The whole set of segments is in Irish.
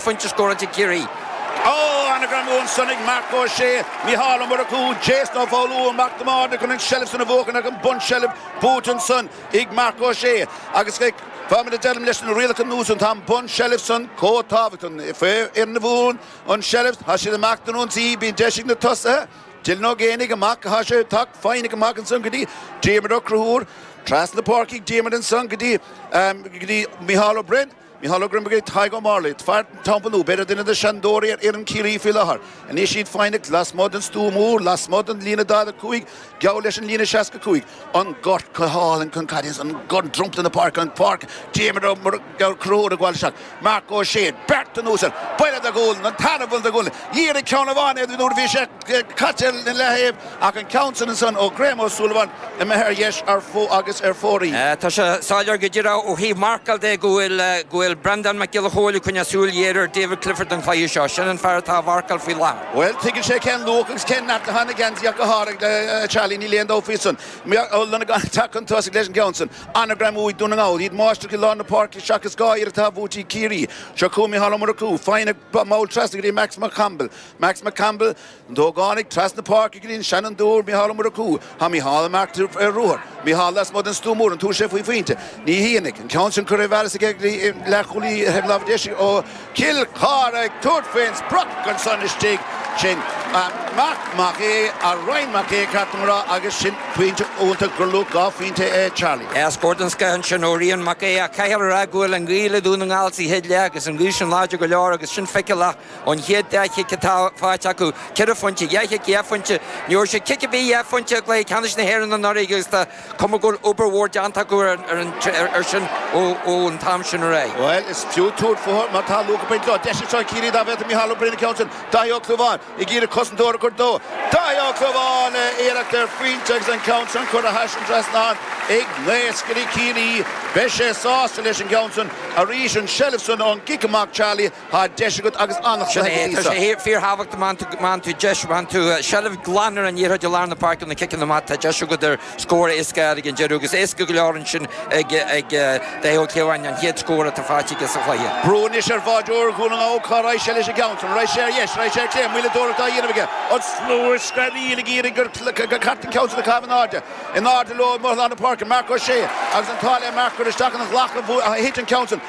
chéad phointe scóráilte ag Ciarraí. Ó, an-ghreamú ansan ag Marc Ó Sé, Mícheál Ó Murchú, Jason Ó Foghlú, Mac Diarmada chun an tseilbh san a bhuachan ach an bunseilbh buaite ansan ag Marc Ó Sé agus fá mar a deirim leis na rialacha nua san tá an bunseilbh san chomh tábhachtach. Faoi fhoireann a bhuann an tseilbh tá siad amach don ionsaí, bíonn deis ag na tosaithe. Dylan Ó Géibheannaigh amach atá sé ag teacht foighneach amach ansan go dtí Diarmuid Ó Conchúir, trasna na páirce ag Diarmuid ansan go dtí go dtí Mícheál Ó Broin. Mícheál Ó Broin go dtí Tadhg Ó Máirle, fear Teampall Nua, b'fhéidir duine de seanadóirí ar fhoireann Chiarraí faoi láthair. Anois iad foighneach lasmuigh den stua mór, lasmuigh den líne 45, geall leis an líne 65. An gort go hálainn chun caide an gort dromchla na páirce, an pháirc, Diarmuid Ó Conchúir ag gabháil isteach. Marc Ó Sé, beirt anuas air, buille de ghualainn, an tarna buille de ghualainn, dhírigh ceann amháin air nuair a bhí sé caite ina leaththaobh ach an ceann san ansan ó Graham Ó Súilleabháin imithe ar dheis ar agus ar fóraoil. Tá sé soiléir go díreach ó thaobh marcáil de go bhfuil go bhfuil Breandán Mac Giolla Chóill ag coinneáil súil ghéar ar David Clifford an cluiche seo. Sin an fear atá á mharcáil faoi láthair. Bhuel, tuigeann sé cén luach agus cén neart atá ina gheansaí ach go háirithe, Charlie, níl aon dabht faoi san. Ó Longáin ag teacht chun tosaigh leis an gceann san. An-ghreamú ag Dún na nGall. Iad máistreach i lár na páirce seachas 2 iarracht atá buaite ag Ciarraí. Seo chugainn Micheál Ó Murchú. Foighneach mall trasna go dtí Max McConville. Max McConville, an t-ógánach, trasna páirce go dtí an seanfhondúir Micheál Ó Murchú. Tá Micheál amach ar ruathar. Micheál lasmuigh den stua mór. An tabharfaidh sé faoi phointe? Ní dhéanfaidh. An ceann sin curtha i bhfearas aige go dtí leathchúlaí ar thaobh láimhe deise ó Chill Chartha ag tabhairt faoin sprioc ansan istigh. Sin Marc Mac Aodha, Ryan Mac Aodha ceart dom a rá, agus sin pointe iontach gur luach 2 phointe é Charlie. Scór den scoth ansin ó Rian Mac Aodha ach caithfear a rá go bhfuil an ghaoth le Dún na nGall sa chéad leath agus an ghaoth sin láidir go leor agus sin feiceálach ón chéad dá chic atá faighte acu, ceithre phointe, dhá chic dhá phointe. Ní raibh siad cic ar bith dhá phointe i gcluiche ceannais na hÉireann anuraidh agus tá cuma go bhfuil obair mhór déanta acu ar sin ón t-am sin ar aghaidh. Bhuel, is fiú tabhairt fúthu má tá luach ag baint leo. Deis anseo ag Ciarraí dá bhféadfadh Micheál Ó Broin an ceann sin. Dáithí Ó Clúmháin ag iarraidh cosantóir a chur dó. Dáithí Ó Clúmháin le iarracht ar phointe agus an ceann sin curtha thar an trasnán ag naoscairí Chiarraí. Beidh sé sásta leis an gceann sin. Arís an tseilbh san ón gcic amach Charlie. Tá deis agat agus an-chluiche go dtí seo. Tá sé fíorthábhachtach má fhaigheann tú deis, má fhaigheann tú seilbh glan ar an liathróid i lár na páirce ó na ciceanna amach, tá deis agat ar scór éasca a fháil ag an deireadh agus éasca go leor ansin ag Dáithí Ó Clúmháin an chéad scór atá faighte aige sa chluiche. Brú anois ar bháireoir Dhún na nGall, cá raghaidh sé leis an gceann san? Raghaidh sé ar dheis, raghaidh sé ar clé, moilleadóireacht á dhéanamh aige. An slua ag screadaíl ag iarraidh gur ceart an ceann san a chaitheamh in airde. In airde leo i lár na páirce, Marc Ó Sé agus an t-ádh le Marc gur isteach ina ghlac a thit an ceann san.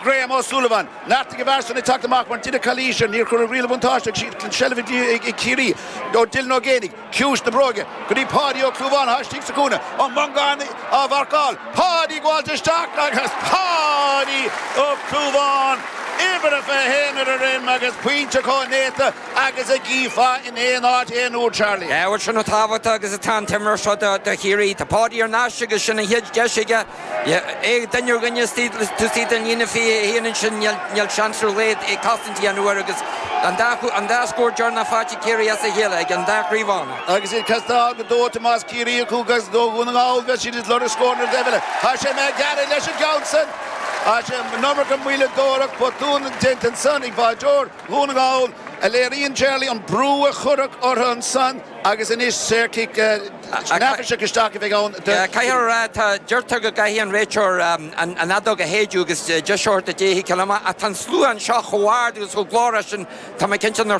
Graham Ó Súilleabháin. Neartaigh an fear san ag teacht amach mar deineadh calaois air. Níor cuireadh riail an bhuntáiste ach an tseilbh ag Ciarraí. Ó Dylan Ó Géibheannaigh, ciumhais na bróige, go dtí Páidí Ó Clúmháin atá istigh sa chúinne. Ó Mongáin á mharcáil. Páidí ag gabháilt isteach agus Páidí Ó Clúmháin, uimhir a 21 ar a dhroim agus pointe chomh néata agus a gcífeá in aon áit aon uair, Charlie. Bhuel, sin chomh tábhachtach agus atá an t-imreoir seo do Chiarraí. Tá Páidí thar n-ais agus sin an chéad deis aige. É duine ar dhuine istigh taobh istigh den líne 21 ansin, níl seans ar a laghad é cosaint a dhéanamh air agus an dá scór deireanach faighte ag Ciarraí as a chéile ag an dá chliabhán. Agus iad casta go dóite más Ciarraí acu agus do Dhún na nGall bheadh siad ag lorg scóranna ar an dtaobh eile. Tá sé McGarry leis an gceann san. Tá sé an iomarca moilleadóireacht botún déanta ansan ag báireoir Dhún na nGall a léiríonn Charlie an brú a cuireadh orthu ansan agus anois saorchic neafaiseach isteach a bheidh ann do. Caithfear a rá, tá, deirtear go gcaithfidh an réiteoir an fheadóg a shéideadh agus deis a thabhairt do Daithí ciceáil amach ach tá an slua anseo chomh hard agus chomh glórach sin, tá mé cinnte nár.